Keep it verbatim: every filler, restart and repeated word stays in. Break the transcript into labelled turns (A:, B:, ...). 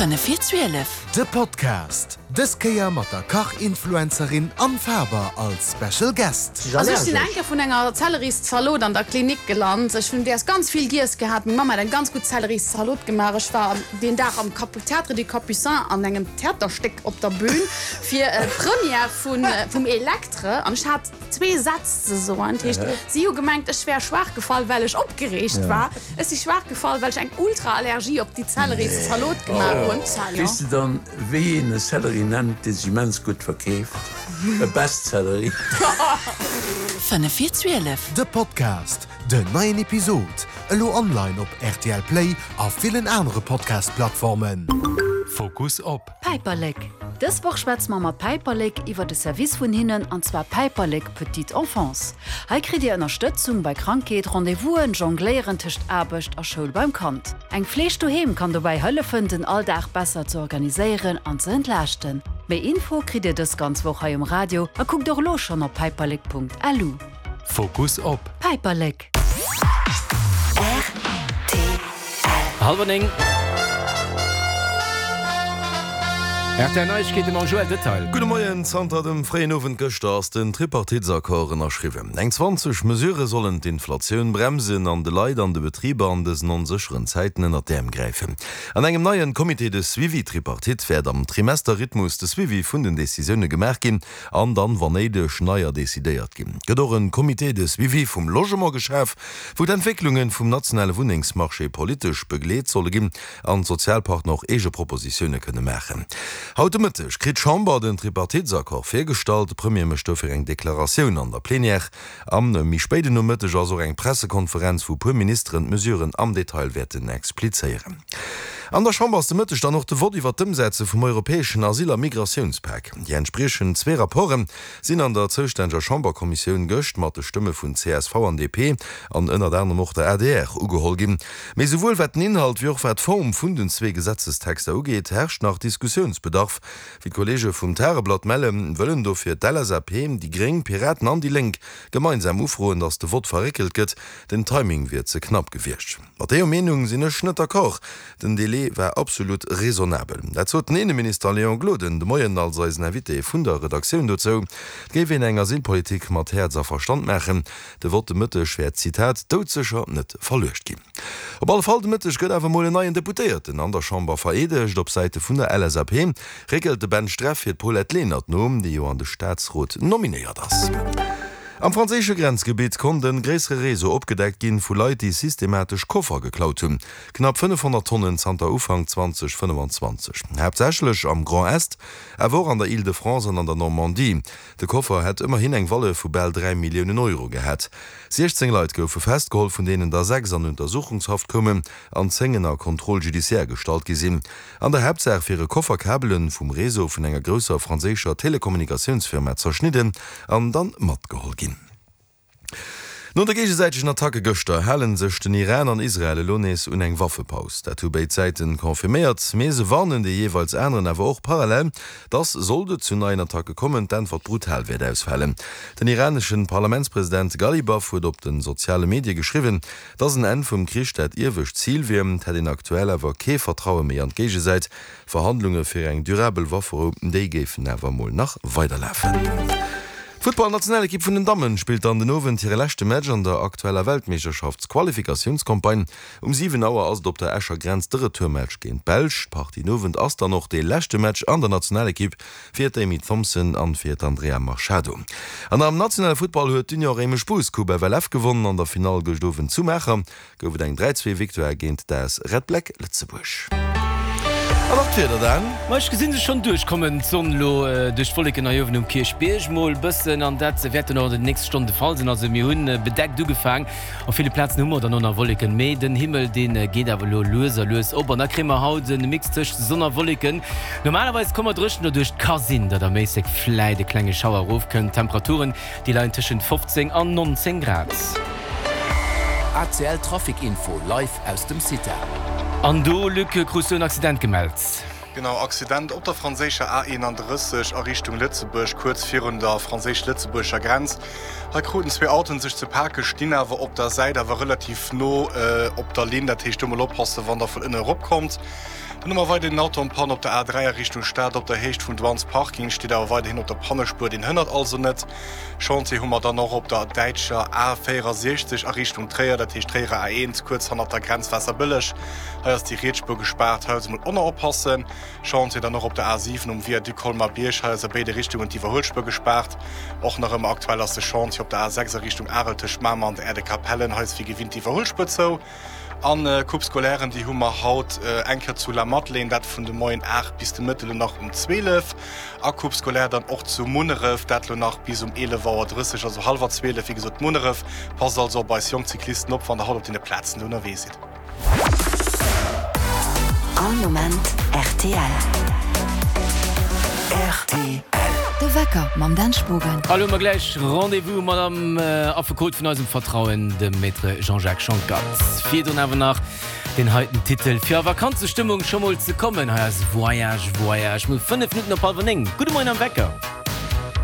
A: Fënnef vir zwielef.
B: De Podcast, dës Kéier mat der Kach-Influencerin Anne Faber als Special Guest.
C: Also ech sinn eng Kéier vun enger Zelleris-Zalot an der Klinik gelant. Ech hunn däers ganz vill giess gehat. Meng Mamm hat eng ganz gutt Zelleris-Zalot gemaach. Ech war deen Dag am Théâtre des Capucins an engem Theaterstéck op der Bühn fir d'Première vun vum Electre an ech hat zwee Sätz ze soen. Dat heescht, si hu gemengt, ech wär schwaach gefall, well ech opgereegt war. Ech si schwaach gefall, well ech eng Ultra-Allergie op déi Zelleris-Zalot gemaach hunn.
D: Weess de dann, wéi een e Sellerie nennt, dee sech immens gutt verkeeft? E Bestsellerie.
A: Fënnef vir zwielef.
B: De Podcast, Den neien Episod elo online op R T L Play a villen anere Podcast-Plattformen.
E: Fokus op.
F: Päiperlek. Dës Woch schwätze mer mat Päiperlek iwwer de Service vun hinnen, an zwar Päiperlek Petite Enfance. Hei kritt Dir Ënnerstëtzung bei Krankheet, Rendez-vousen, Jongléieren tëscht Aarbecht a Schoul beim Kand. Eng Fleeg doheem kann dobäi hëllefen, den Alldag besser ze organiséieren an ze entlaaschten. Méi Info kritt Dir dës ganz Woch hei um Radio a kuckt och elo schonn op päiperlek Punkt L U.
E: Fokus op.
F: Päiperlek.
G: Hallwer néng. R T L Neiegkeete mam Joël Detail.
H: Gudde Moien, Zanter dem fréien Owend gëschter ass den Tripartitesaccord ënnerschriwwen. Eng zwanzeg Mesurë sollen d'Inflatioun bremsen an de Leit an de Betriber an dësen onsécheren Zäiten ënnert d'Äerm gräifen. An engem neien Comité de suivi tripartite wäert am Trimesterrhythmus de Suivi vun den Decisioune gemaach ginn an dann, wann néideg, neier decidéiert ginn. Et gëtt och en Comité de suivi vum Logement geschaf, wou d'Entwécklunge vum nationale Wunnengsmarché politesch begleet solle ginn an d'Sozialpartner och eege Propositioune kënne maachen. Haut de Mëtteg kritt d'Chamber den Tripartitesaccord virgestallt. De Premier mécht dofir eng Deklaratioun an der Plenière. Am méi spéiden Nomëtteg ass och eng Pressekonferenz, wou puer Ministeren d'Mesuren am Detail wäerten explizéieren. An der Chamber ass de Mëtteg dann och de Vott iwwer d'Ëmsetze vum europäeschen Asyl a Migratiounspak. Déi entspriechend zwee Rapporte sinn an der zoustänneger Chamberkommissioun gëscht mat de Stëmme vun C S V an D P an ënnert anerem och der A D R ugeholl ginn. Mee souwuel wat den Inhalt wéi och wat d'Form vun den zwee Gesetzestexter ugeet, herrscht nach Diskussiounsbedarf. Wéi d'Kolleege vum Tageblatt mellen, wëllen dofir d'L S A P, déi Gréng, Piraten an déi Lénk gemeinsam ufroen, datt de Vott verréckelt gëtt. Den Timing wier ze knapp gewiescht. Mat deeër Meenung sinn ech net d'accord. Den Delai war absolut raisonnabel. Dat sot den Inneminister Léon Gloden de Moien als eisen Invité vun der Redaktioun dozou. Et géif een eng Asylpolitik mat Häerz a Verstand maachen. De Vott de Mëtteg wäert, Zitat, doudsécher net verluecht ginn. Op alle Fall de Mëtteg gëtt awer mol en neien Deputéierten an der Chamber vereedegt. Op Säite vun der L S A P réckelt de Ben Streff fir d'Paulette Lenert no, déi jo an de Staatsrot nominéiert ass. Am franséische Grenzgebitt konnt e gréissere Réseau opgedeckt ginn, vu Leit, déi systematesch Koffer geklaut hunn. Knapp fënnefhonnert Tonnen zanter Ufank zweedausendfënnefenzwanzeg. Haaptsächlech am Grand Est, awer och an der Île-de-France an an der Normandie. De Koffer hätt ëmmerhin eng Valeur vu bal dräi Milliounen Euro gehat. siechzéng Leit goufe festgeholl, vun deenen der sechs an Untersuchungshaft koumen an zéng ënner Contrôle judiciaire gestallt gi sinn. An der Haaptsaach wiere Kofferkabele vum Réseau vun enger grousser franséischer Telekommunikatiounsfirma zerschnidden an dann matgeholl ginn. No de géigesäitegen Attacke gëschter hale sech den Iran an Israel elo nees un eng Waffepaus. Dat hu béid Säite confirméiert, mee se warnen dee jeeweils aneren awer och parallel, dass, sollt et zu neien Attacke kommen, d'Äntwert brutal wäert ausfalen. Den iranesche Parlamentspresident Ghalibaf huet op de soziale Medie geschriwwen, dass en Enn vum Krich dat iewescht Zil wier, et hätt een aktuell awer kee Vertraue méi an d'Géigesäit. Verhandlunge fir eng durabel Wafferou, déi géifen awer mol nach weiderlafen. D'Futtballnationalekipp vun den Dammen spillt dann den Owend hire leschte Match an der aktueller Weltmeeschterschaftsqualifikatiounscampagne. Um siwen Auer ass et op der Escher Grenz de Retourmatch géint d'Belsch. D'Partie den Owend ass dann och dee leschte Match an der Nationalekipp fir d'Amy Thompson an fir d'Andrea Machado. An am nationale Futtball huet d'Union Réimech-Bous d'Coupe F L F gewonnen. An der Finall gëscht Owend zu Maacher gouf et eng dräi zwee Victoire géint d'A S Red Black Lëtzebuerg. An nach d'Wieder dann.
G: Ma ech gesinn se schonn duerchkommen, d'Sonn elo duerch d'Wolleken hei uewen um Kierchbierg mol bëssen, an dat wäert dann och an den nächste Stonnen de Fall sinn. Also mir hunn bedeckt ugefaang, op ville Plazen hu mer dann och nach Wolleken, mee den Himmel dee geet awer elo lues a lues op an da kréie mer haut e Mix tëscht Sonn a Wolleken. Normalerweis komme mer dréchen doduerch, et ka sinn, datt am Méissek vläit e klenge Schauer erofkënnt. D'Temperaturen déi leien tëschent fofzéng an nonzéng Grad.
I: A C L Trafic Info live aus dem CITA.
G: An do, Luc, krus du en Accident gemellt?
J: Genau, Accident op der franséischer A eenanddrësseg a Richtung Lëtzebuerg, kuerz virun der franséisch-lëtzebuergescher Grenz. Hei kruten zwee Autoen sech ze pake, stinn awer op der Säit, awer relativ no op der Linn. Dat heescht, do mol oppassen, wann der vun ënne erop kommt. Dann hu mer weiderhin en Auto en panne op der A dräi a Richtung Stad op der Héicht vum Douanes Parking, steet awer weiderhin op der Pannespuer, deen hënnert also net. Chantier hu mer dann och op der däitscher A véierasiechzeg a Richtung Tréier, dat heescht Tréierer A eent, kuerz hannert der Grenz Waasserbëlleg. Hei ass déi riets Spuer gespaart, hei also mol oner oppassen. Chantier dann och op der A siwen um Viaduc Colmar-Bierg, hei ass a béide Richtungen d'Iwwerhuelspuer gespaart. Och nach ëmmer aktuell ass de Chantier op der A sechs a Richtung Arel tëscht Mamer an der Aire de Capellen, hei ass wéi gewinnt d'Iwwerhuelspuer zou. An Coupe Scolairen, déi hu mer haut eng Kéier zu Lamadelaine, dat vun de Moien aacht bis de Mëtte lo nach um zwielef. A Coupe Scolaire dann och zu Munneref, dat lo nach bis um eelef Auer drësseg, also hallwer zwielef, wéi gesot Munneref. Passt also op eis jonk Cyclisten op, wann der haut op deene Plazen do ënnerwee sidd.
A: All Moment rtl. Rtl. De Wecker mam Dan Spogen.
G: A lo hu mer gläich Rendez-vous mat am Affekot vun eisem Vertrauen, dem Maître Jean-Jacques Schonckert. Virdrun awer nach deen heiten Titel, fir a Vakanzestëmmung scho mol ze kommen. Hei ass Voyage, Voyage. Mir hu fënnef Minutten op hallwer néng. Gudde Moien am Wecker.